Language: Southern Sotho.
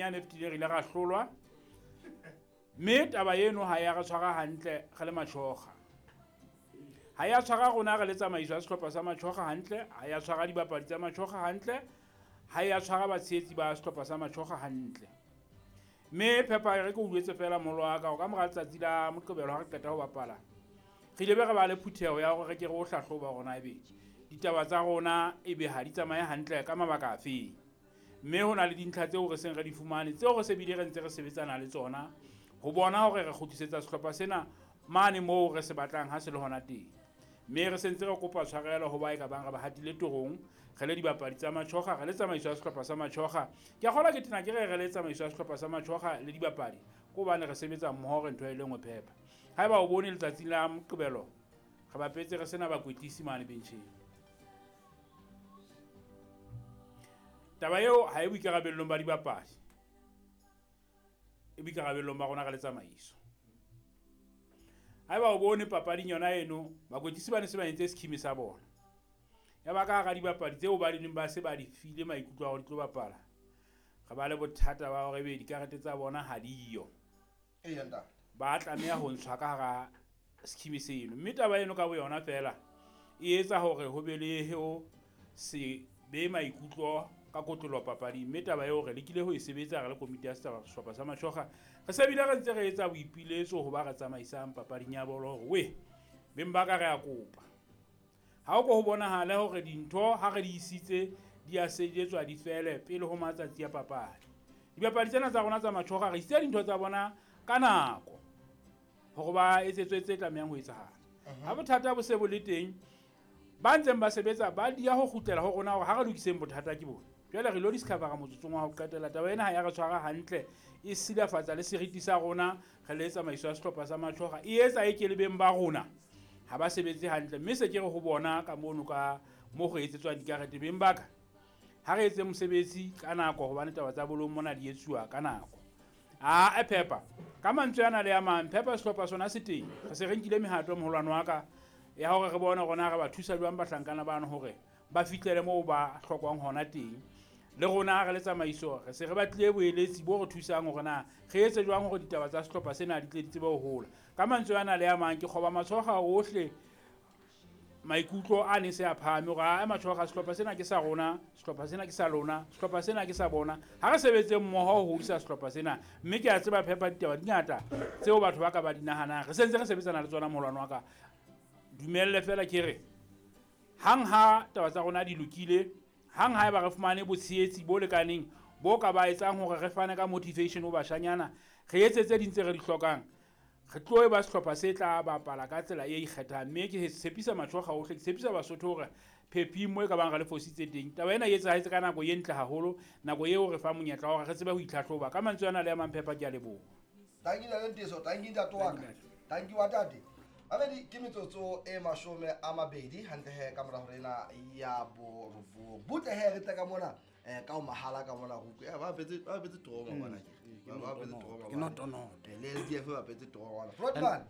yane e fetileng re ile ra hlolwa. Mme taba eno ha ya re tshwara hantle re le Matjhoga. Ha ya tshwara rona re le tsamaiso ya sehlopha sa Matjhoga hantle, ha ya tshwara dibapadi tsa Matjhoga hantle, ha ya tshwara batshehetsi ba sehlopha sa Matjhoga hantle. Mme Phepa re ke o jwetse fela molo wa ka hore ka mora letsatsi la Moqebelo ha re qeta ho bapala, re ile be re ba le phutheho ya hore re ke re o hlahloba hore na ebe ditaba tsa rona ebe ha di tsamaye hantle ka mabaka afeng. Mme ho na le dintlha tseo re seng re di fumane, tseo re se bile re ntse re sebetsana le tsona ho bona hore re kgutlisetsa sehlopha sena mane moo re se batlang ha se le hona teng. Mme re sentse re kopa tshwarelo ho ba e ka bang re ba hatile torong, re le dibapadi tsa Matjhoga, re le tsamaiso ya sehlopha sa Matjhoga. Ke a kgolwa ke tena ke re re le tsamaiso ya sehlopha sa Matjhoga le dibapadi, ke hobane re sebetsa mmoho re ntho e le nngwe Phepa. Haeba o bone letsatsing la Moqebelo, re bapetse re sena bakwetlisi mane bencheng. Taba eo ha e boikarabellong ba dibapadi, e boikarabellong ba rona re le tsamaiso. Haeba o bone papading yona eno, bakwetlisi ba ne se ba entse scheme sa bona. Ya ba ka hara dibapadi tseo ba di neng ba se ba di file maikutlo a hore di tlo bapala, re ba le bothata ba hore ebe dikarete tsa bona ha diyo. Eya, ntate. Ba tlameha ho ntshwa ka hara scheme seno. Mme taba eno ka boyona fela e etsa hore ho be le ho se be maikutlo ka kotloloho papading. Mme taba eo re lekile ho e sebetsa re le komiti ya sehlopha sa Matjhoga. Re se bile re ntse re etsa boipiletso ho ba re tsamaisang papading ya bolo hore we beng ba ka re a kopa. Ha o ko ho bonahale hore dintho ha re di isitse di a sejetswa di fele pele ho matsatsi a papadi. Dibapadi tsena tsa rona tsa Matjhoga re isitse dintho tsa bona ka nako hore ba etsetswe tse tlamehang ho etsahala. Ha bothata bo se bo le teng, ba ntseng ba sebetsa ba dia ho kgutlela ho rona hore ha re lokiseng bothata ke bona. Jwale re lo discovera motsotsong wa ho qetela taba ena ha ya re tshwara hantle, e silafatsa le seriti sa rona re le tsamaiso ya sehlopha sa Matjhoga, e etsa e ke le beng ba rona ha ba sebetse hantle. Mme se ke re ho bona ka mono ka mo go etsetswang dikarete, beng ba ka ha re etse mosebetsi ka nako hobane taba tsa bolong mona di etsuwa ka nako. A e Phepa ka mantswe ana le a mang, Phepa sehlopha sona se teng, re se re nkile mehato moholwane wa ka ya hore re bone rona re ba thusa jwang bahlankana bano hore ba fihlele moo ba hlokwang hona teng. Le rona re le tsamaiso re se re batlile boeletsi bo re thusang hore na re etse jwang hore ditaba tsa sehlopha sena di tle di tsebe ho hola. Ka mantswe ana le a mang, ke kgoba Matjhoga ohle maikutlo a ne se a phahame hore a Matjhoga sehlopha sena ke sa rona, sehlopha sena ke sa lona, sehlopha sena ke sa bona. Ha re sebetse mmoho ho hodisa sehlopha sena. Mme ke a tseba Phepa ditaba di ngata tseo batho ba ka ba di nahanang, re sentse re sebetsana le tsona moholwane wa ka. Dumelle fela ke re hang ha taba tsa rona di lokile, hang ha eba re fumane botshehetsi bo lekaneng bo ka ba etsang hore re fane ka motivation ho bashanyana, re etse tse ding tse re di hlokang, re tlo ba sehlopha se tla bapala ka tsela e ikgethang. Mme ke tshepisa Matjhoga ohle, ke tshepisa Basotho hore Phephi mo e ka bang re le fositse teng, taba ena e etsahetse ka nako e ntle haholo, nako eo re fa monyetla wa hore re tsebe ho itlhatlhoba. Ka mantswe ana le a mang Phepa, ke a leboha. Tanki ntate Nteso, tanki ntate wa ka. Tanki wa tate. Mamedi, ke metsotso e 20 hantle he ka mora hore ena ya borobong. Butle he re tle ka mona, ka o mahala ka mona ruku. Ba bapetse, ba bapetse trauma ngwana ke. Ba bapetse trauma Ke ngwana. noto noto. Le SDF ba bapetse trauma ngwana. Flotman.